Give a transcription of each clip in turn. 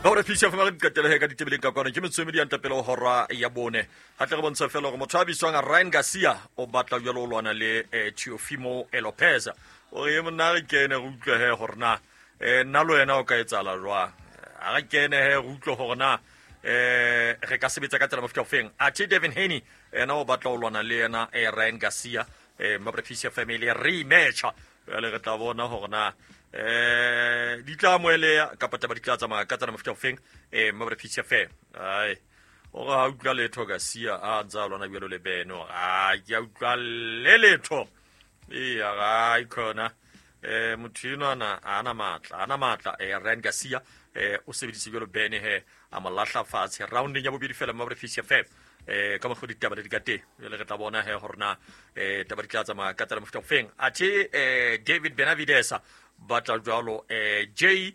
Ba gore fisa fa re qetele ka ditebeleng ka kwano ke metswemedi ya ntapele ho hora ya bone. Ha tle re bontsha fela hore motho a bitswang Ryan Garcia o batla jwalo o lwana le Teofimo Lopez. O re monna re kene re utlwe he hore na nna le wena o ka etsahala jwang. A re kene he re utlwe hore na re ka sebetsa ka tsela mofuta ofeng. Athe Devin Haney ena o batla ho lwana le yena Ryan Garcia Mabra family rematch. Jwale re tla bona hore na di tla amoheleha kapa taba di tla tsamaya ka tsela mofuta ofeng Mabra FM. Ai o re ha utlwa letho Garcia a ntse a lwana jwalo le Beno. A ke a utlwa le letho. Eya ga khona motho enwana a ana matla ana matla Ryan Garcia o sebedise jwalo Bene he a mo lahla fatshe rounding ya bobedi fela Mabra FM. Ka mokgwa ditaba le di ka teng jwale re tla bona he hore na taba di tla tsamaya ka tsela mofuta ofeng. Athe David Benavides batla jwalo J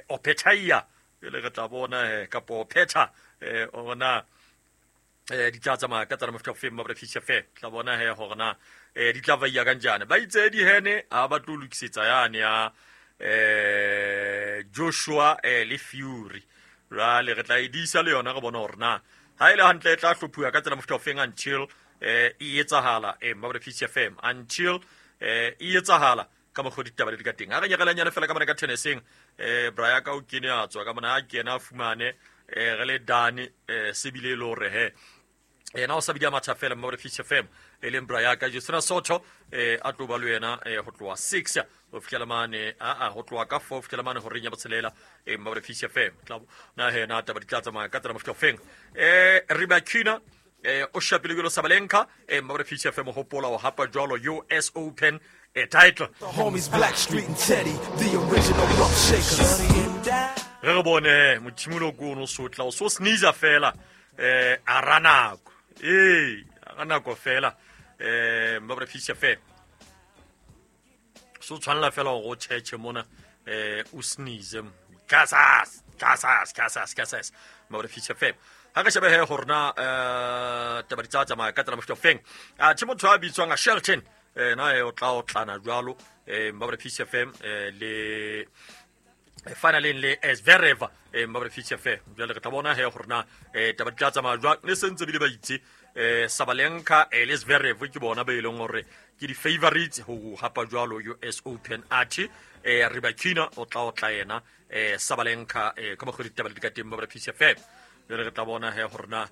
Opetaia jwale re tla bona he kapo Opeta hore na di tla tsamaya ka tsela mofuta ofeng Mabra FM. Tla bona he hore na di tla vaiya kanjani. Ba itse di hene ha ba tlo lokisetsa yane ya Joshua le Fury. Jwale re tla e disa le yona re bona hore na ha ile hantle e tla hlophuwa ka tsela mofuta ofeng until e etsahala Mabra FM until e etsahala ka mokgwa ditaba le di ka teng. Ha re nyekelanyane fela ka mona ka tenniseng Brian ka o kene a tswa ka mona a kena a fumane re le dane se bile le hore he yena o sa bidi a matha fela Mabra FM e leng Brian ka Justina Soto a tlo ba le yena ho tloha 6 ho fihlela mane a ho tloha ka 4 ho fihlela mane horeng ya botshelela Mabra FM. Tla na he na taba di tla tsamaya ka tsela mofuta ofeng. Rybakina o shapile jwalo Sabalenka Mabra FM hopola o hapa jwalo US Open title. The homies Blackstreet and Teddy, the original rump shakers. Re re bone mothimolo ko ono sotla o so sneeze fela a ra nako. A ra nako fela Mabra FM. So tshwanela fela hore o tjhetjhe mona o sneeze. Kasas, kasas, kasas, kasas. Mabra FM. Ha re shebe he hore na taba di tla tsamaya ka tsela mofuta ofeng. Athe motho a bitswang a Shelton na o tla otlana jwalo Mabra FM le finaleng le Zverev Mabra FM. Jwale re tla bona he hore na taba di tla tsamaya jwang. Le sentse bile ba itse Sabalenka le Zverev ke bona ba e leng hore ke di-favorites ho hapa jwalo US Open. Athe Rybakina o tla otla yena Sabalenka ka mokgwa ditaba le di ka teng Mabra FM. Jwale re tla bona he hore na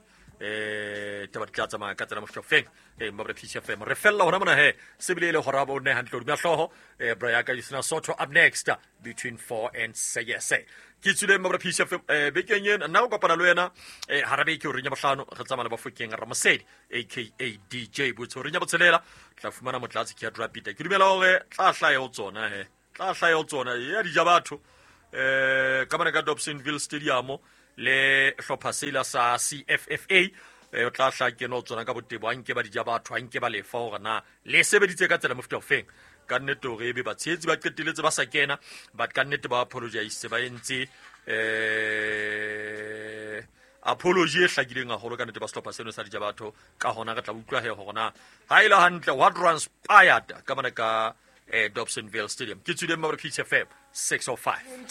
taba di tla tsamaya ka tsela mofuta ofeng Mabra FM. Re fella hona mona he se bile e le hora bo ne hantle hodima hlooho Brian ka Justina Soto up next between 4 and 6. Ke tswile Mabra FM bekeng ena nna o kopana le wena hara beke horeng ya bohlano re tsamaya le Bafokeng Ramosedi aka DJ Botse horeng ya botshelela tla fumana motlatsi ke ya Drapita. Ke dumela hore tla hlaha ho tsona he tla hlaha ho tsona ya dija batho ka mona ka Dobsonville Stadium le hlopha sela sa CFFA o tla hla kena ho tsona ka botebo a nke ba dija batho a nke ba lefa hore na le sebeditse ka tsela mofuta ofeng. Ka nnete hore ebe batshehetsi ba qeteletse ba sa kena but ka nnete ba apologize ba entse apology e hlakileng haholo ka nnete ba sehlopha seno sa dija batho. Ka hona re tla utlwa he hore na ha ile hantle what transpired ka mona ka Dobsonville Stadium. Ke tswile Mabra FM 605.